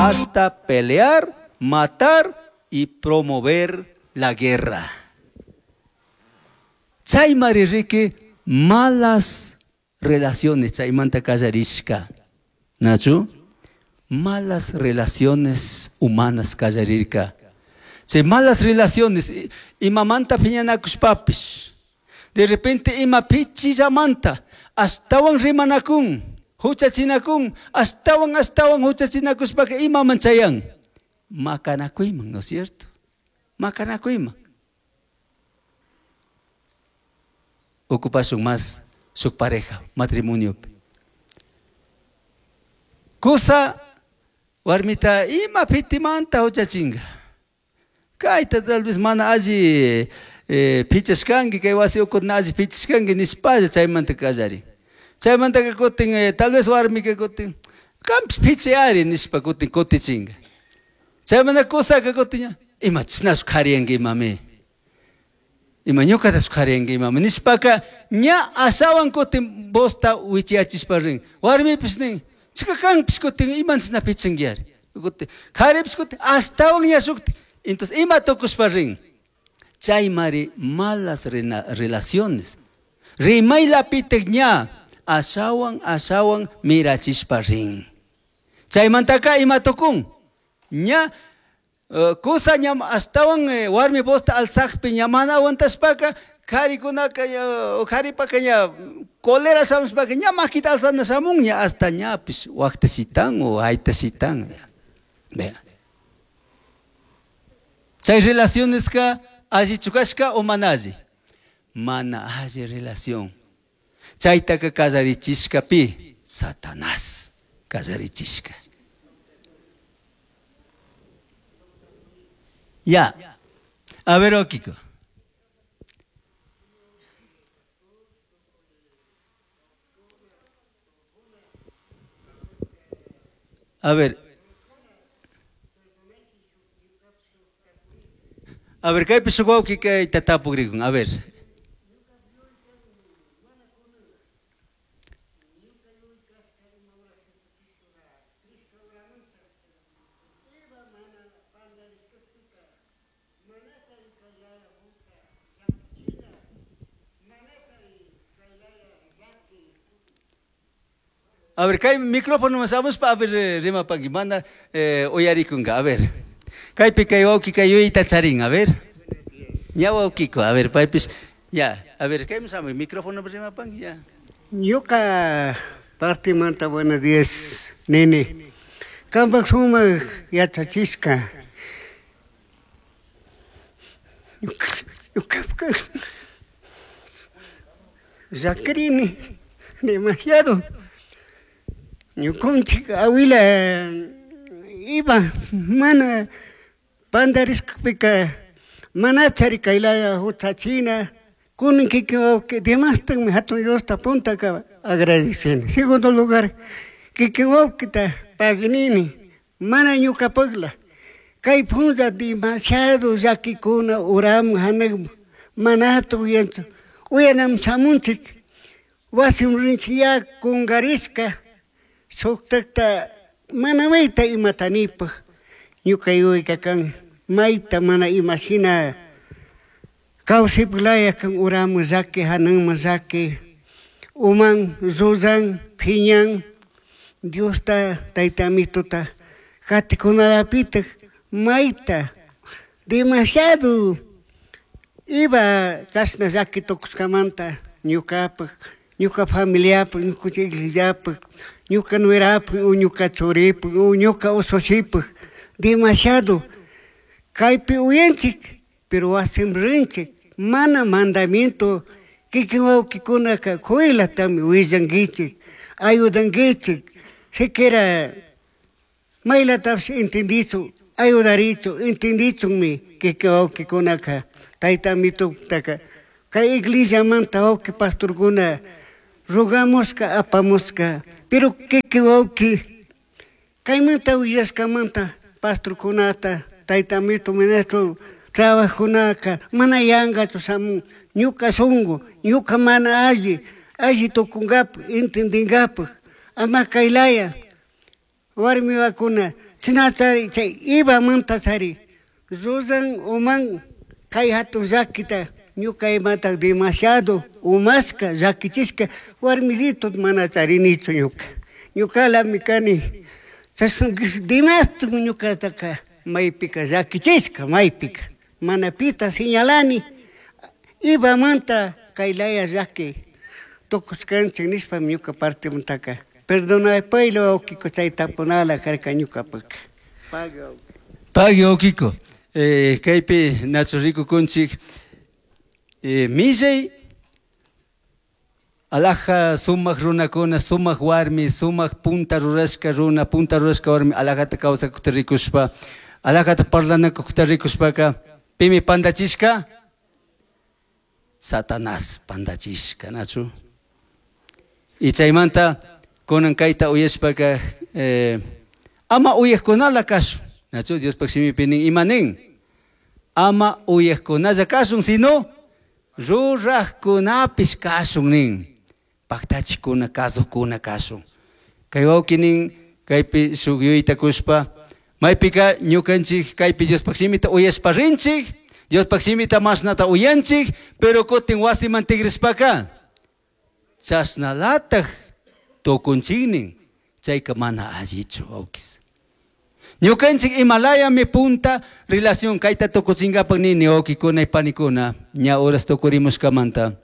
Hasta pelear, matar y promover la guerra. Chaymari riki malas relaciones chaymanta kallarishka. Nachu? Malas relaciones humanas kallarirka. Chay malas relaciones imamanta phiñanakushpapish. De repente ima pichillamanta ashtawan rimanakun, huchachinakun, ashtawan ashtawan huchachinakushpaka imaman chayan. Makanakuyman, ¿no es cierto? Makanakuyman. Ocupashun más su pareja, matrimonio. Kusa warmita ima pitimanta huchachinga. Kayta tal vez mana alli pichashkanki, kay wasi ukutna alli pichashkanki nishpalla chaymanta kallari. Chaymantaka kutin tal vez warmika kutin kanpish pichayari nishpa kutin kutichinga. Chaymanta kusaka kutin ima chashnachu kariyanki imami. Ima ñukatachu kariyanki imami nishpaka ña ashawan kutin vosta wichiyachishpa rin. Warmipish nin chika kanpish kutin ima chashna pichinkiari. Kutin karipish kutin ashtawan ña shukti. Entonces ima tukushpa rin. Chaymari malas relaciones. Rimaylapitik ña ashawan ashawan mirachishpa rin. Chaymantaka ima tukun. Ña kusa ña ashtawan warmi vosta alzakpi ña mana aguantashpaka karikunaka karipaka ña cólera shamushpaka ña makita alzana shamun ña hasta ñapish waqtashitan o haytashitan. Vea. Chay relacioneska allichu kashka o mana alli? Mana alli relación. Chaytaka kallarichishka pi? Satanás kallarichishka. Ya. A ver, Okiko. A ver. A ver, kaypi shuk wawqi kayta tapukrikun. A ver. A ver, kay micrófono shamushpa, a ver, rimapanki, mana uyarikunka, a ver. Kaypi kay wawqi kay yuyayta charin, a ver. Ña wawqiko, a ver, paypish, ya, a ver, kaymi shamuy, micrófono rimapanki, ya. Ñuka partimanta buenos días, nene. Kampak sumak yachachishka. Ñuka llakrini demasiado. Ñukunchik awila iba mana pandarishkapika mana chari kaylaya huchachina kunan kikin wawqi demastakmi hatun Diosta puntaka agradeceni. Segundo lugar, kikin wawqita paginini mana ñukapakla kay punlla demasiado llakikuna uramun hanakmun manata uyanchu uyanam shamunchik wasim rinchik ya kunkarishka shuktakta mana mayta imata nipaj ñuka yuyayka kan mayta mana imashina kawsaypak kan uramun llaki hanakman llaki uman llulan phiñan Diosta tayta amituta katikunalapitak mayta demasiado iba chashna llaki tukushkamanta ñukapak ñuka familiapak ñukanchik iglesiapak ñuka nuerapak o ñuka churipak o ñuka ushushipak demasiado kaypi uyanchik pero wasin rinchik mana mandamiento kikin wawqikunaka kuylatami willankichik ayudankichik siquiera maylatapish entendichun ayudarichun entendichunmi kikin wawqikunaka tayta amitutaka kay iglesiamanta wawqi pastorkuna rogamushka apamushka pero kikin wawqi kaymanta willashkamanta pastorkunata tayta amito ministro trabajunaka mana yankachu shamun ñuka shunku ñuka mana alli alli tukunkapak entendinkapak ama kaylaya warmi wawakuna Shinachari chay Evamanta chari ruran uman kay hatun llakita ñuka imata demasiado umashka llakichishka warmisito mana charinichu ñuka. Ñukalami kani chashna demasiado ñukataka maypika llakichishka maypika mana pita señalani Evamanta kay laya llaki tukushkanchik nishpami ñuka partimantaka perdonapayla wawqiko chay tapunala karka ñukapaka. Pagui wawqiko. Kaypi nachu rikukunchik millay alaja sumak runakuna, sumak warmi, sumak punta rurashka runa, punta rurashka warmi alajata kawsakukta rikushpa, alajata parlanakukta rikushpaka, pimi pandachishka? Satanás pandachishka, nachu? Y chaymanta kunan kayta uyashpaka ama uyajkunala kashun, nachu? Diospak shimipi nin ima nin? Ama uyajkunalla kashun, sino rurajkunapish kashun nin. Paktachikuna, kasukuna kashun. Kay wawki nin, kaypi shuk yuyayta kushpa, maypika ñukanchik kaypi Diospak shimita uyashpa rinchik, Diospak shimita mashnata uyanchik, pero kutin wasiman tigrishpaka chashnalataj tukunchik nin, chayka mana allichu wawkis. Ñukanchik imalayami punta relación kayta tukuchinkapak nini wawkikuna y panikuna, ña horas tukurimushkamanta.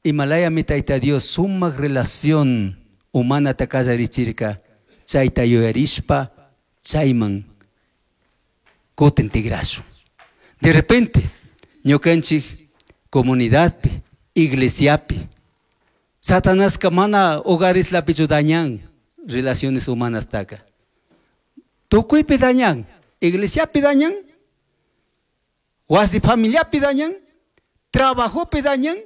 Imalayami Tayta Dios sumak relación humanata kallarichirka, chayta yuyarishpa chayman kutin tigrashun. De repente, ñukanchik comunidadpi, iglesiapi, Satanaska mana hogareslapichu dañan relaciones humanas taka. Tukuypi dañan, iglesiapi dañan, wasi familiapi dañan, trabajopi dañan,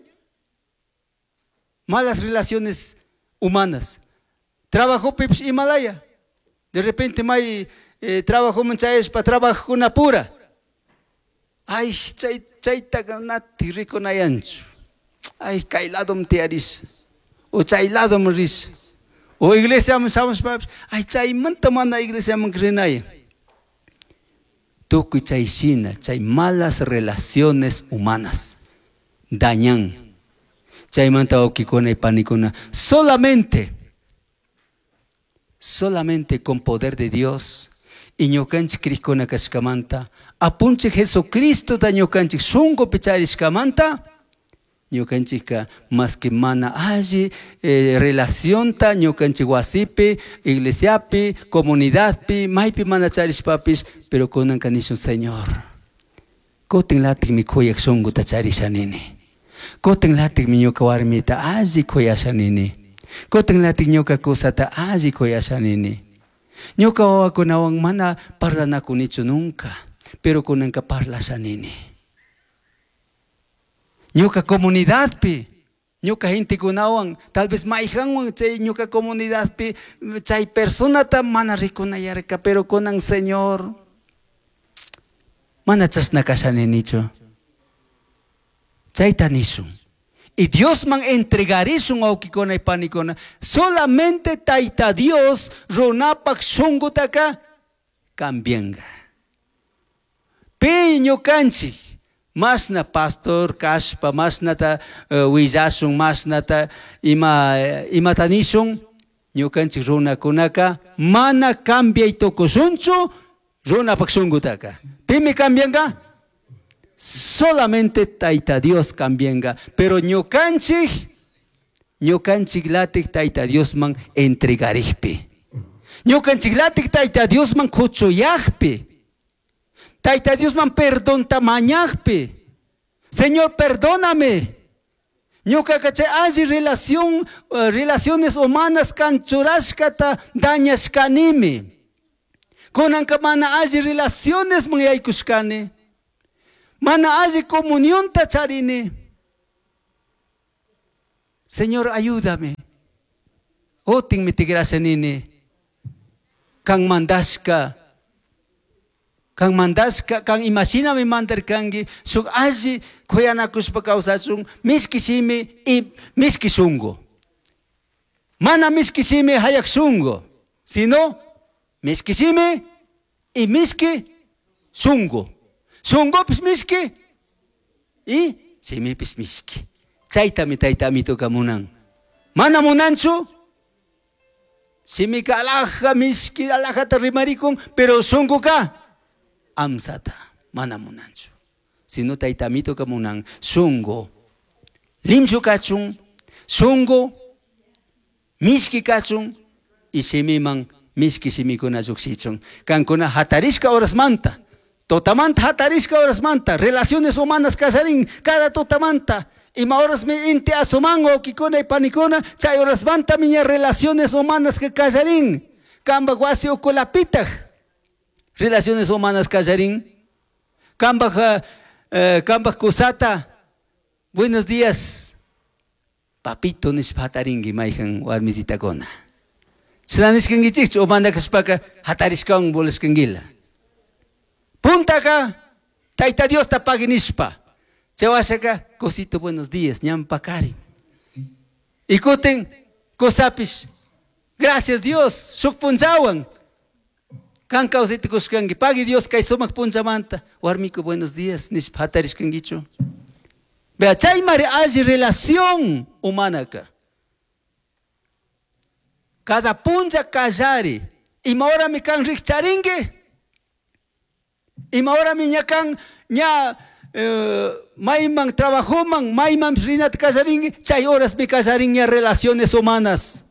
malas relaciones humanas. Trabajopi Himalaya. De repente may trabajo manchayashpa trabajokuna pura. Ay, chay chaytaka nati rikunayanchu. Ay, kay ladom tiyarisha. O chay ladom risha. O iglesiaman shamushpapish, ay, chaymanta mana iglesiaman rinayan. Tukuy chay shina, chay malas relaciones humanas dañan. Chaymanta wawkikuna y panikuna, solamente, solamente con poder de Dios y ñukanchik krikuna kashkamanta, apunchik Jesucristota ñukanchik shunkupi charishkamanta, ñukanchikka más que mana alli relacionta ñukanchik wasipi, iglesiapi, comunidadpi, maypi mana charishpapish, pero kunanka nishun, Señor, kutin latikmi kuyak shunkuta charisha nini. Kutin latikmi ñuka warmita alli kuyasha nini. Kutin latik ñuka kusata alli kuyasha nini. Ñuka wawakunawan mana parlanakunichu nunca, pero kunanka parlasha nini. Ñuka comunidadpi, ñuka gentekunawan, tal vez mayhanwan chay ñuka comunidadpi, chay personata mana rikunayarka, pero kunan Señor, mana chashna kasha ninichu. Chayta nishun. Y Diosman entregarishun wawkikuna y panikuna. Solamente Tayta Dios runapak shunqutaka cambianga. Pi ñukanchik masna pastor kashpa, masnata willashun, masnata imata nishun, ñukanchik runakunaka mana cambiay tukushunchu runapak shunqutaka. Pimi cambianga? Solamente Tayta Dios cambianga. Pero ñukanchik, ñukanchik latik Tayta Diosman entregarikpi. Ñukanchik latik Tayta Diosman kuchuyakpi. Tayta Diosman perdonta mañakpi. Señor, perdóname. Ñuka chay alli relación, relaciones humanas kanchurashkata dañashkanimi. Kunanka mana alli relaciones man yaykushkani. Mana alli comunionta charini. Señor, ayúdame. Otin mi tigrasha nini. Kan mandashka. Kan mandashka, kan imashinami mandarkanki, shuk alli kuyanakushpa kawsashun, mishki shimi y mishki shunku. Mana mishki shimi hayak shungu, sino mishki shimi y mishki shungu. Shungupis mishki y shimipis mishki. Chaytami tayta amituka munan. Mana munanchu shimika alaja mishki alajata rimarikun, pero shunguka amsata mana munanchu. Sino tayta amituka munan shungu limshu kachun, shungu mishki kachun y shimiman mishki shimikuna llukshichun. Kankuna hatarishka horasmanta, totamanta hatarishka horasmanta, relaciones humanas kallarin cada totamanta. Ima horasmi inti asuman wawkikuna y panikuna, chay horasmanta miña relaciones humanas que kallarin. Kamba wasi ukulapitaj relaciones humanas kallarin. Kamba kamba kusata, buenos días, papito nishpa hatarinki mayhan warmisitakuna. Chashna nishkankichikchu umanda kashpaka hatarishkawan volashkankila. Puntaka Tayta Diosta pagui nishpa. Chay washaka cosito buenos días ñampakari. Y kutin kusapish gracias Dios shuk punllawan kan kawsayta kushkanki pagui Dios kay sumak punchamanta warmiku buenos días nishpa hatarishkankichu. Vea, chaymari alli relación humanaka. Cada punlla kallari ima horami kan rikcharinki, ima horami ña kan ña mayman trabajoman mayman rinata kallarinki, chay horasmi kallarin ña relaciones humanas.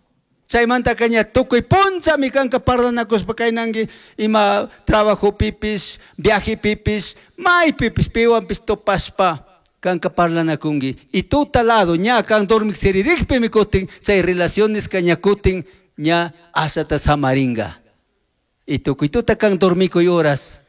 Chaymantaka ña tukuy punllami kanka parlanakushpa kaynanki ima trabajopipis, viajepipis, maypipis piwanpis tupashpa kanka parlanakunki. Y tuta lado ña kan dormik siririkpimi kutin chay relaciones ka ña kutin ña ashata samaringa. Y tukuy tuta kan dormikuy horas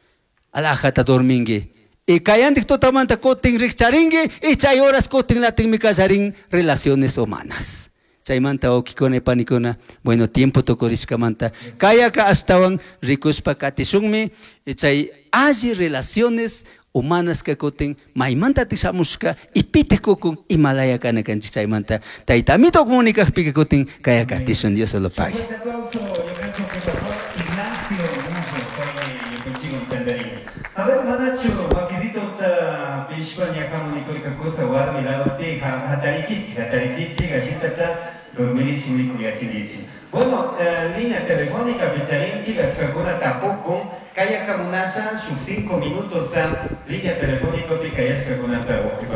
alajata dorminki. Y kayantik tutamanta kutin rikcharinki y chay horas kutin latinmi kallarin relaciones humanas. Chaymanta wawkikuna y panikuna, bueno, tiempo tukurishkamanta kayaka ashtawan rikushpa katishunmi y chay alli relaciones humanas ka kutin maymanta tishamushka y pitik kukun imalaya kana kanchik chaymanta tayta amito comunicakpika kutin kaya katishun. Dios se lo pague. Fuerte aplauso, ñukanchik pastor Ignacio Muzo, paymi ñukanchikwan tantarin. A ver, manachu makisitota pishpa ñakamunikurkakusa warmi ladopi hatarichichi, hatarichichi gashitata dormirish mikuyachinkichik. Bueno, línea telefónica picharinchik achkakuna tapukun kayakamunasha shuk 5 minutos ta línea telefónica pi kayashkakunata wawqi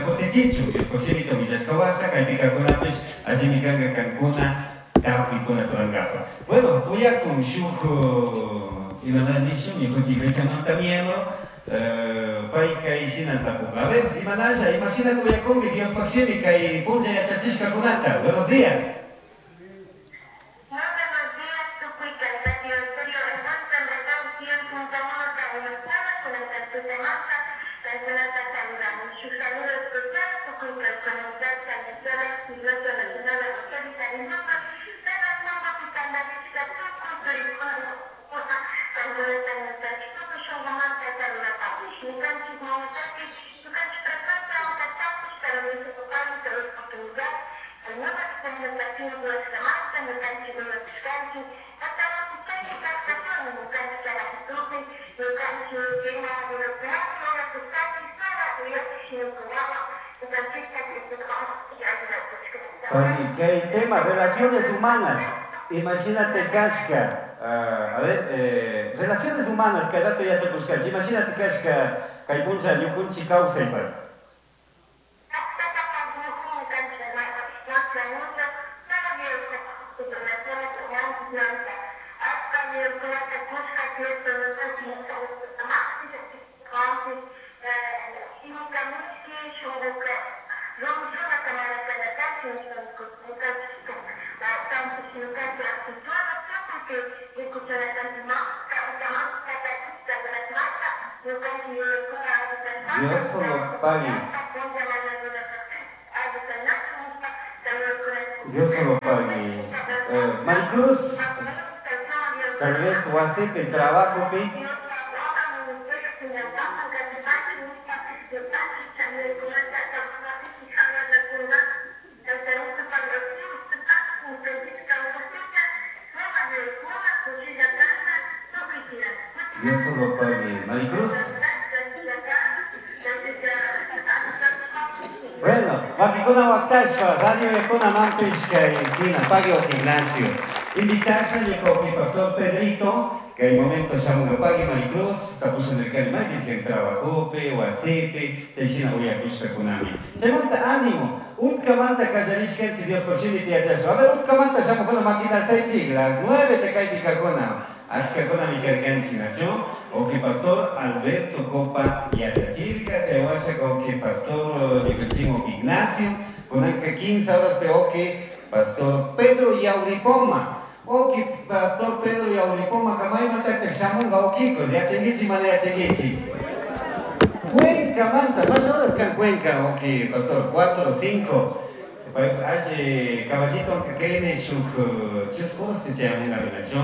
kutichichu Diospaq shimita willashka washa kaypikakunapish allimi kanka kankuna tapuykuna turankapa. Bueno, uyakun shuk imana nishun ñukanchik iglesiamanta miembro pay kay shina tapuka. A ver, imanasha, imashina uyakunki Diospaq shimi kay punlla yachachishkakunata. Buenos días. Kay tema, relaciones humanas. Imagínate kashka, a ver, relaciones humanas, kay rato yachakushkanchik. Imagínate kashka, kay punlla ñukunchik kawsaypaq. Dios solo pague. Dios solo pague. Maricruz, tal vez wasipi trabajopi. Dios solo pague. Maricruz. Bueno, makikuna waktashpa, radio yakuna mampish kay sina pague Ignacio. Invitarse ñuka pastor Pedrito, que el momento shamunga pague Maricruz, tapusha nirkani maypi trabajopi, wasipi, chay shina uyakushkakunami. Chaymanta ánimo, utkamanta kallarishkanchik Dios por shimi tiyachashpa. A ver, utkamanta shamukuna makita alzaychik, las 9 te kaypi kakuna. Achkakunami karkanchik, nachu? Oki pastor Alberto Copa yachachirka, chay washa oki pastor ñukanchik Ignacio, kunanka 15 horas de oki pastor Pedro Yauripoma. Oki pastor Pedro Yauripoma kamaymantataq shamunga okikos, yachankichik mana yachankichik. Cuenca manta, más horas kan Cuenca, oki pastor, 4 o 5. Alli caballito kayni shuk chusku horas chayamunga nachu.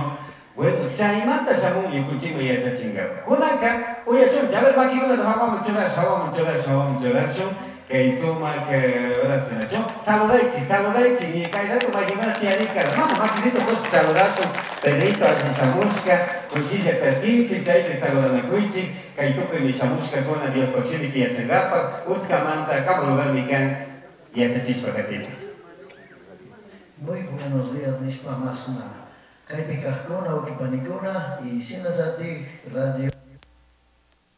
Bueno, chaymanta shamun ñukunchikman yachachinga. Kunanka uyashun, a ver makikunata hawaman churashun, hawaman churashun, hawaman churashun. Kay sumak horas nachu. Saludaychik, saludaychik, ni kay rato makikuna tiyarika. Mama makisito kush saludashun. Pedrito alli shamushka, kushilla chaskinchik, chaypi saludanakuychik. Kay tukuymi shamushkakuna Diospaq shimita yachankapak, utkamanta kama lugarmi kan yachachishpa katipak. Muy buenos días, nishpa masna. Kaypi kajkuna, ukipanikuna y shinallatik radio.